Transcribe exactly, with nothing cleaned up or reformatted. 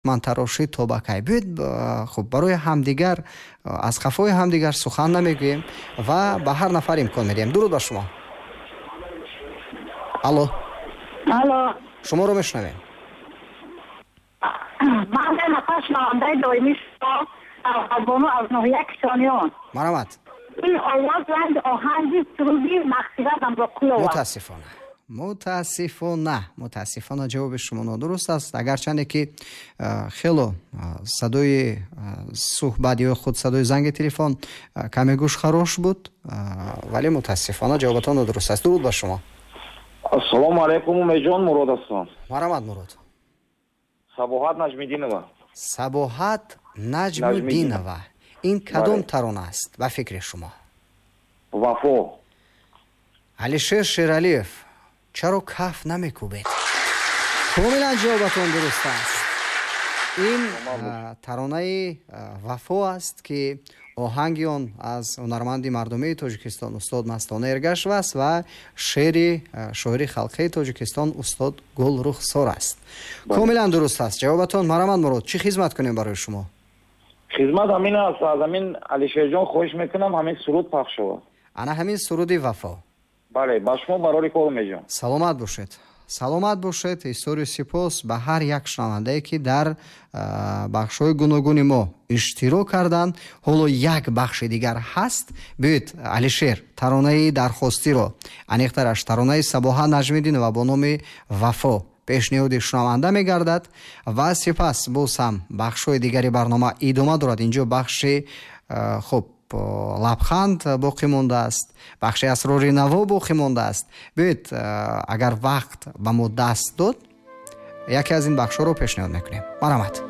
Мантарошӣ то ба кай? Биёед, хуб, барои ҳамдигар аз қафои ҳамдигар сухан намегӯем ва ба ҳар нафар имкон медиҳем. Дуруд ба шумо. Алло. Алло. Шуморо мешунавем. Ман нафар шунавандаи доимии шумо, Бону аз ноҳияи Кишониён. Марҳамат. Ин овоз ранги оҳанги суруди мағфират Амроқулова. Мутаассифона, мутаассифона, мутаассифона, ҷавоби шумо нодуруст аст. Агарчанде ки хело садои суҳбат ё худ садои занги телефон каме гӯшхарош буд, вале мутаассифона ҷавобатон нодуруст аст. Дуруд ба шумо. Ассалому алайкум, Умедҷон, Мурод ҳастам. Марҳамат, Мурод. Сабоҳат Наҷмиддинова. Сабоҳат Наҷмуддинова. Ин кадом тарона аст ба фикри шумо? Вафо. Алишер Шералиев, чаро каф намекӯбед? Комилан ҷавобатон дуруст аст. Ин таронаи Вафо аст, ки оҳанги он аз ҳунарманди мардумии Тоҷикистон устод Мастона Эргашева аст ва шеъри шоири халқии Тоҷикистон устод Гулрухсор аст. Комилан дуруст аст ҷавобатон. Марҳамат, Мурод, чӣ хизмат кунем барои шумо? Хизмат ҳамин аст, аз ҳамин Алишерҷон хоҳиш мекунам, ҳамин суруд пахш шавад. Ана ҳамин суруди Вафо. Бале, ба шумо барори кор, Умедҷон. Саломат бошед, саломат бошед. Изҳори сипос ба ҳар як шунавандае, ки дар бахшҳои гуногуни мо иштирок карданд. Ҳоло як бахши дигар ҳаст. Биёед, Алишер таронаи дархостиро, аниқтараш таронаи Сабоҳа Наҷмиддинова бо номи Вафо пешниҳоди шунаванда мегардад ва сипас боз ҳам бахшҳои дигари барнома идома дорад. Инҷо бахши, хуб, лабханд боқӣ мондааст, бахши асрори наво боқӣ мондааст. Биёед, агар вақт ба мо даст дод, яке аз ин бахшҳоро пешниҳод мекунем. Марҳамат.